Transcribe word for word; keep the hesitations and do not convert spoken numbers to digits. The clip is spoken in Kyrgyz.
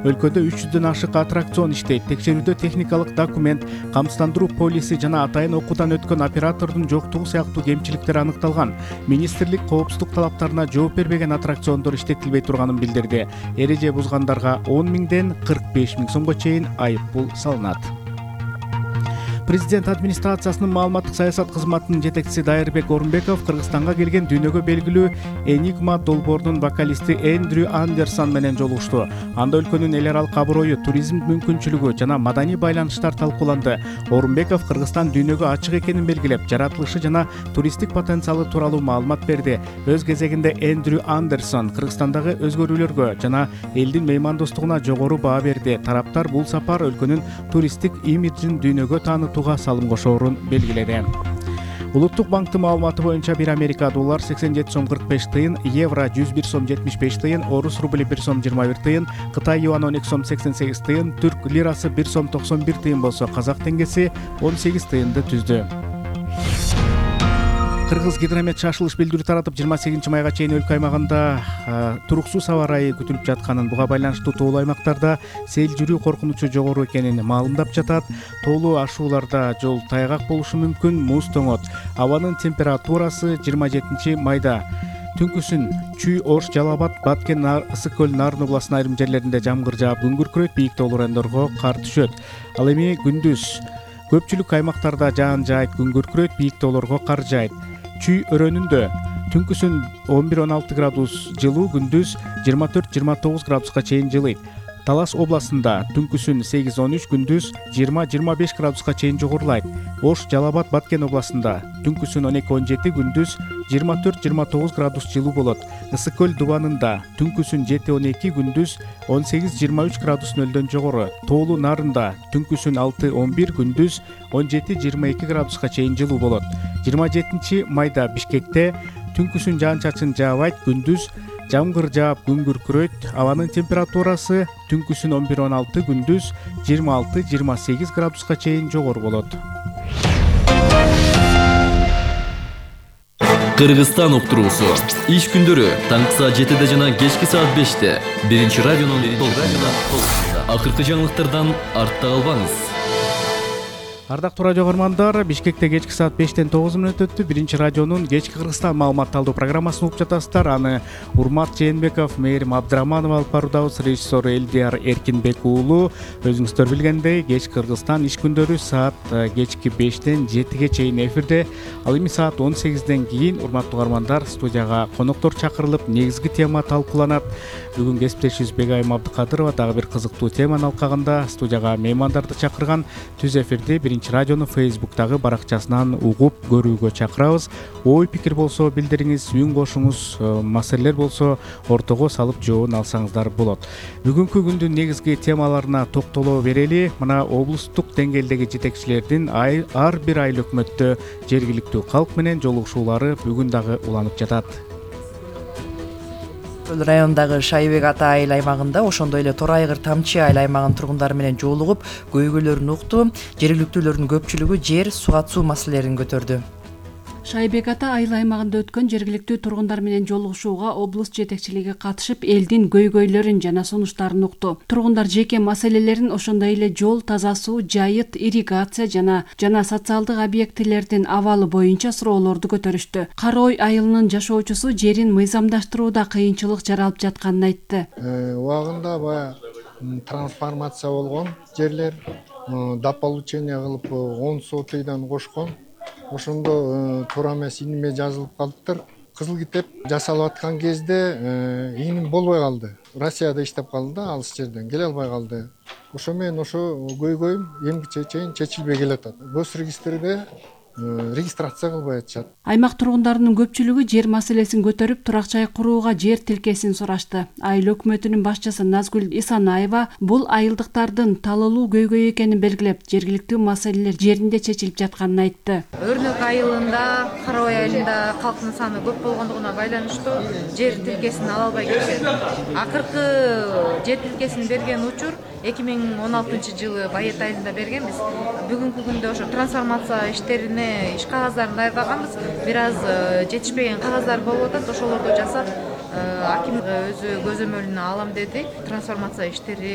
Өлкөдө үч жүздөн ашык аттракцион иштейт. Текшерүүдө техникалык документ, камсыздандыруу полиси жана атайын окуудан өткөн оператордун жоктугу сыяктуу кемчиликтер аныкталган. Министрлик коопсуздук талаптарына жооп бербеген аттракциондор иштетилбей турганын билдирди. Эреже бузгандарга он миңден кырк беш миң сомго чейин айыппул салынат. Президент администрациясынын маалыматтык саясат кызматынын жетекчиси Дайырбек Орунбеков Кыргызстанга келген дүйнөгө белгилүү Enigma долбоорунун вокалисти Эндрю Андерсон менен жолугушту. Анда өлкөнүн эл аралык аброю, туризм мүмкүнчүлүгү жана маданий байланыштар талкууланды. Орунбеков Кыргызстан дүйнөгө ачык экенин белгилеп, жаратылышы жана туристтик потенциалы тууралуу маалымат берди. Өз кезегинде Эндрю Андерсон Кыргызстандагы өзгөрүүлөргө жана элдин меймандостугуна жогору баа берди. Тараптар бул сапар өлкөнүн туристтик имиджин дүйнөгө таанытууга салым кошоорун белгиледи. Улуттук банктын маалыматы боюнча бир Америка доллар сексен жети сом кырк беш тыйын, евро жүз бир сом жетимиш беш тыйын, орус рубли бир сом жыйырма бир тыйын, Кытай юаны он эки сом сексен сегиз тыйын, түрк лирасы бир сом токсон бир тыйын болсо, казак теңгеси он сегиз тыйынды түздү. Кыргыз гидромет шашылыш билдирүү таратып, жыйырма сегизинчи майга чейин өлкө аймагында туруксуз аба ырайы күтүлүп жатканын, буга байланыштуу тоолуу аймактарда сел жүрүү коркунучу жогору экенин маалымдап жатат. Тоолуу ашууларда жол тайгак болушу мүмкүн, муз тоңот. Абанын температурасы жыйырма жетинчи майда түнкүсүн Чүй, Ош, Жалал Абад, Баткен, Ысык көл, Нарын областынын айрым жерлеринде жамгыр жаап, күн күркүрөйт, бийик тоолуу райондорго кар түшөт. Ал эми күндүз көпчүлүк аймактарда жаан жаайт, күн күркүрөйт, бийик тоолорго кар жаайт. Чүй өрөөнүндө түнкүсүн он бир он алты градус жылуу, күндүз жыйырма төрт жыйырма тогуз градуска чейин жылыйт. Талас областында түнкүсүн сегиз он үч, күндүз жыйырма жыйырма беш градуска чейин жогорулайт. Ош, Жалал Абад, Баткен областында түнкүсүн он эки он жети, күндүз жыйырма төрт жыйырма тогуз градус жылуу болот. Ысык көл Дубанында түнкүсүн жети он эки, күндүз он сегиз жыйырма үч градус нөлдөн жогору. Тоолуу Нарында түнкүсүн алты он бир, күндүз он жети жыйырма эки градуска чейин жылуу болот. жыйырма жетинчи майда Бишкекте түнкүсүн жаан-чачын жаабайт, күндүз жамгыр жаап, күн күркүрөйт. Абанын температурасы түнкүсүн он бир он алты, күндүз жыйырма алты жыйырма сегиз градуска чейин жогору болот. Кыргызстан уктуруусу иш күндөрү таңкы саат жетиде жана кечки саат беште биринчи радионун толкунунда. Акыркы жаңылыктардан артта калбаңыз. Ардактуу радио көрөрмандар, Бишкекте кечки саат бештен тогуз мүнөт өттү. Биринчи радионун кечки Кыргызстан маалыматталдуу программасын угуп жатасыздар. Аны Урмат Жээнбеков, Мээрим Абдыраманов алып баруудабыз. Режиссер Элдияр Эркинбек уулу. Өзүңүздөр билгендей, кечки Кыргызстан иш күндөрү саат кечки бештен жетиге чейин эфирде. Ал эми саат он сегизден кийин, урматтуу көрөрмандар, студияга коноктор чакырылып, негизги тема талкууланат. Бүгүн кесиптешибиз Бегайым Абдыкадырова дагы бир кызыктуу теманын алкагында студияга меймандарды чакырган. Түз эфирди Биринчи радионун Фейсбуктагы баракчасынан угуп көрүүгө чакырабыз. Ой пикир болсо билдириңиз, үн кошуңуз, маселелер болсо ортого салып жообун алсаңыздар болот. Бүгүнкү күндүн негизги темаларына токтоло берели. Мына облустук деңгээлдеги жетекчилердин ар бир айыл өкмөттө жергиликтүү калк менен жолугушуулары бүгүн дагы уланып жатат. Райондагы Шайбек ата айыл аймагында, ошондой эле Тор айгыр Тамчы айыл аймагынын тургундары менен жолугуп, көйгөйлөрүн укту. Жергиликтүүлөрдүн көпчүлүгү жер, суга суу маселелерин көтөрдү. Шайбек ата айыл аймагында өткөн жергиликтүү тургундар менен жолугушууга облус жетекчилиги катышып, элдин көйгөйлөрүн жана сунуштарын укту. Тургундар жеке маселелерин, ошондой эле жол, таза суу, жайыт, ирригация жана жана социалдык объектилердин абалы боюнча суроолорду көтөрүштү. Карой айылынын жашоочусу жерин мыйзамдаштырууда кыйынчылык жаралып жатканын айтты. Убагында баягы трансформация болгон жерлер, дополучение кылып он сотыйдан кошкон. Ошондо туура эмес иниме жазылып калыптыр. Кызыл китеп жасалып аткан кезде иним болбой калды. Россияда иштеп калды да, алыс жерден келе албай калды. Ошо менен ошо көйгөйүм эмгиче чейин чечилбей келатат. Гос регистрде регистрация кылбай атышат. Аймак тургундарынын көпчүлүгү жер маселесин көтөрүп, турак жай курууга жер тилкесин сурашты. Айыл өкмөтүнүн башчысы Назгүл Исанаева бул айылдыктардын талалуу көйгөй экенин белгилеп, жергиликтүү маселелер жеринде чечилип жатканын айтты. Өрнөк айылында, Карабай айылында калктын саны көп болгондугуна байланыштуу жер тилкесин ала албай келишет. Акыркы жер тилкесин берген учур эки миң он алтынчы жылы Байет айылында бергенбиз. Бүгүнкү күндө ошо трансформация иштерине иш кагаздарын даярдаганбыз. Бир аз жетишпеген кагаздар болуп атат. Ошолорду жасап, аким өзү көзөмөлүнө алам деди. Трансформация иштери